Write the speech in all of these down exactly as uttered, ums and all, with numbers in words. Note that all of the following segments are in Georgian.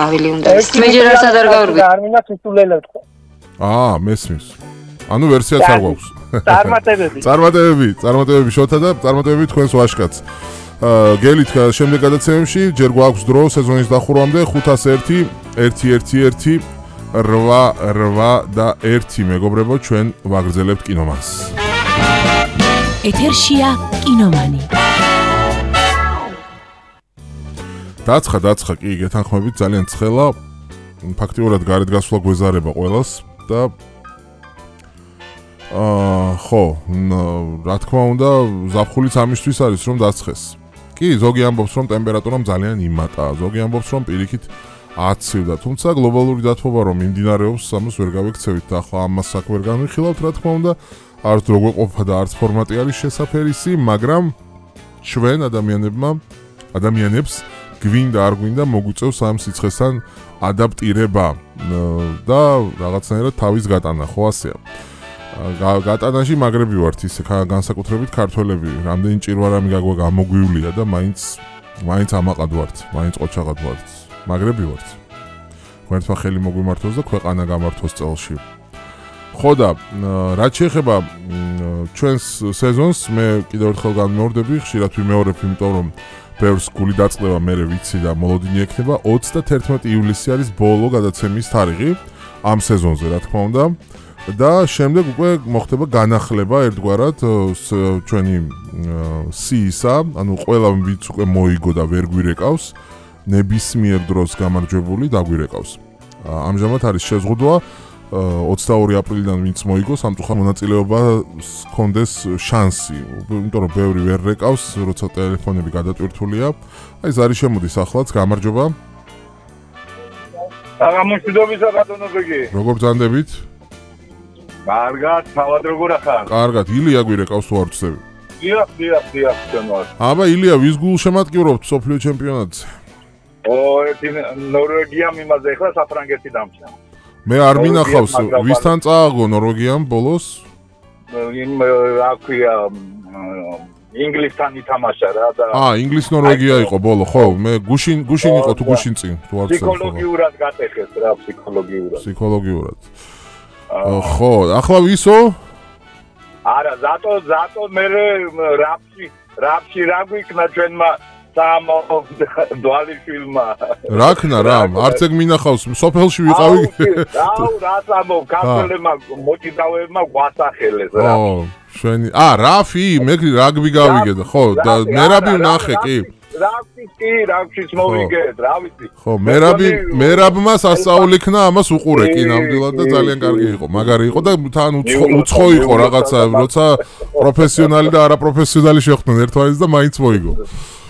ავილი უნდა ის მეჯერ არც არ გავარგვი არ მინდა თითულელად ხო აა მესმის ანუ ვერსიაც არ გვაქვს წარმატებები წარმატებები წარმატებები შოთა და წარმატებები თქვენს ვაშკაც გელით შემდეგ გადაცემებში ჯერ გვაქვს დრო სეზონის დახურვამდე ხუთას ერთი ერთი ერთი ერთი რვა რვა და ერთი მეგობრებო ჩვენ ვაგრძელებთ კინომანს ეთერშია კინომანი დაცხა დაცხა კი გეთანხმებით ძალიან ცხელა ფაქტიურად გარეთ გასვლა გვეზარება ყველას და აა ხო რა თქმა უნდა ზაფხულიც ამისთვის არის რომ დაცხეს კი ზოგი ამბობს რომ ტემპერატურამ ძალიან იმატა ზოგი ამბობს რომ პირიქით აცივდა თუმცა გლობალური დათბობა რომ მიმდინარეობს ამას ვერ გავიქცევით და ახლა ამას აქ ვერ განვიხილავთ რა თქმა უნდა არც როგორ ყოფა და არც ფორმატი არის შესაფერისი მაგრამ ჩვენ ადამიანებმა ადამიანებს გვინდა არ გვინდა მოგვიწევს ამ სიცხესთან ადაპტირება და რაღაცნაირად თავის გატანა ხო ასეა გატანაში მაგრები ვართ ისე განსაკუთრებით ქართველები რამდენი ჭირვარამი გაგვა გამოგვივლია და მაინც მაინც ამაყად ვართ მაინც ყოჩაღად ვართ მაგრები ვართ თქვენთმა ხელი მოგვიმართოს და ქვეყანა გამართოს წელში ხო და რაც შეეხება ჩვენს სეზონს მე კიდევ ერთხელ განმეორდები ხშირად ვიმეორებ იმიტომ რომ ბევრს გული დაწყდება მერე ვიცი და მოლოდინი ექნება ოცდათერთმეტი ივლისი არის ბოლო გადაცემის თარიღი ამ სეზონზე რა თქმა უნდა და შემდეგ უკვე მოხდება განახლება ერთგვარად ჩვენი სიისა ანუ ყველა ვინც უკვე მოიგო და ვერ გვირეკავს ნებისმიერ დროს გამარჯვებული დაგვირეკავს ამჟამად არის შეზღუდვა ოცდაორი აპრილიდან ვინც მოიგო სამწუხაროდ მონაწილეობას ჰქონდეს შანსი იმიტომ რომ ბევრი ვერ რეკავს როცა ტელეფონები გადატვირთულია აი ზარი შემოდის ახლაც გამარჯობა აღმოჩნდობისა ბატონო გიგი როგორ ბრძანდებით კარგად თავად როგორ ახარ კარგად ილია გვირეკავს თუ არ ვწდები დიახ დიახ დიახ ჩვენვარ აბა ილია ვის გულ შემატკივრობთ სოფლიო ჩემპიონატზე ო ერთი ნორვეგიამ იმაზე ახლა საფრანგეთი დამჭა მე არ მინახავს ვისთან წააგო ნორვეგიამ ბოლოს იმ აქვია ინგლისთან ითამაშა რა და აა ინგლის ნორვეგია იყო ბოლო ხო მე გუშინ გუშინ იყო თუ გუშინ წინ თუ არ ვცემ ფსიქოლოგიურად გატეხეს რა ფსიქოლოგიურად ფსიქოლოგიურად ხო ახლა ვისო არა ზატო ზატო მე რაფში რაფში რა გვიქნა ჩვენმა სამ დვალი ფილმა რაკნა რამ არც ეგ მინახავს სოფელში ვიყავი აუ რას ამბობ ქართველებმა მოჭიდავეებმა გვასახელეს რა ო შვენი ა რაფი მე რაგბი გავიგე ხო და მერაბი ვნახე კი რაფი კი რაფშიც მოვიგეთ რა ვიცი ხო მერაბი მერაბმა სასწაული იქნა ამას უყურე კი ნამდვილად და ძალიან კარგი იყო მაგარი იყო და თან უცხო იყო რაღაცა როცა პროფესიონალი და არაპროფესიონალი შეხვდნენ ერთმანეთს და მაინც მოიგო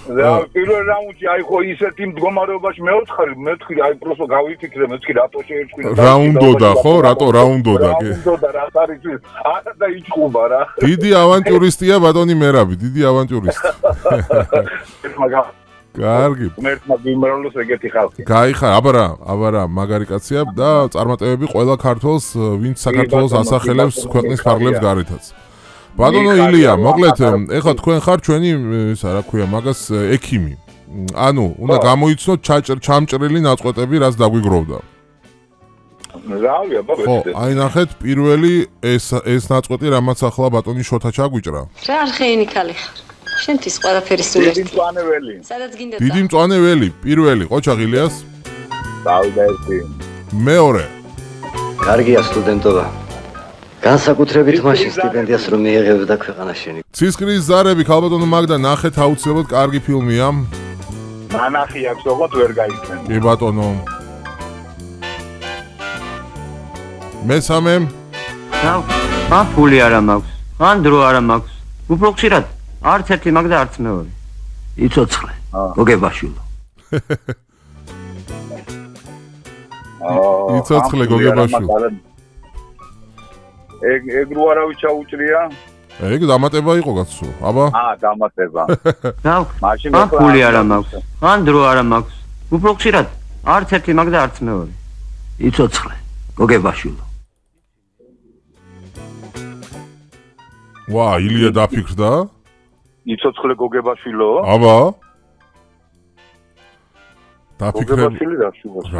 რა პირველ რაუნდში აი ხო ისეთი მდგომარეობაში მეოთხე მეთხე აი პროსო გავიფიქრე მეთხე რატო შეერჩქვილა რაუნდოდა ხო რატო რაუნდოდა კი რაუნდოდა რა არის ის არა და იჭუბა რა დიდი ავანტიურისტია ბატონი მერაბი დიდი ავანტიურისტი კარგი მერტმა გიმრავლოს ეგეთი ხალხი გაიხარ აბარა აბარა მაგარი კაცია და წარმატებები ყველა ქართველს ვინც საქართველოს ასახელებს ქვეყნის ფარგლებს გარეთაც ბატონო ილია, მოკლედ, ეხლა თქვენ ხარ ჩვენი, ისა რა ქვია, მაგას ექიმი. ანუ, უნდა გამოიცნოთ ჩამჭრელი ნაწყვეტები, რაც დაგვიგროვდა. რავია, ბაბა. ხო, აი ნახეთ, პირველი ეს ეს ნაწყვეტი, რამაც ახლა ბატონი შოთა ჩაგვიჭრა. რა არხეინი ქალი ხარ? შენთვის ყველაფერი სულ ერთი. დიდი მწვანეველი. სადაც გინდა. დიდი მწვანეველი, პირველი, ყოჩა ღილიას. დავიდა ერთი. მეორე. კარგია სტუდენტობა. განსაკუთრებით მაშინ სტიპენდიას რომ მიიღებდა ქვეყანაშენი. ცისკრის ზარები ქალბატონო მაგდა ნახეთ აუცილებლად კარგი ფილმია. ნანახი აქვს ოღონდ ვერ გაიქცენ. კი ბატონო. მესამე. ნაუ, მან ფული არა მაქვს. მან დრო არა მაქვს. უფრო ხშირად არც ერთი მაგდა არც მეორე. იცოცხლე. გოგებაშვილო. აა იცოცხლე გოგებაშვილო. ეგ ეგ რო არავის ჩაუჭრია? ეგ დამატება იყო კაცო. აბა. აა, დამატება. ნაუ, მან ფული არა მაქვს. მან დრო არა მაქვს. უფრო ხშირად არც ერთი მაგდა არც მეორე. იცოცხლე. გოგებაშვილო. ვა, ილია დაფიქრდა? იცოცხლე გოგებაშვილო? აბა. დაფიქრე გოგებაშილი რა შუბაში. რა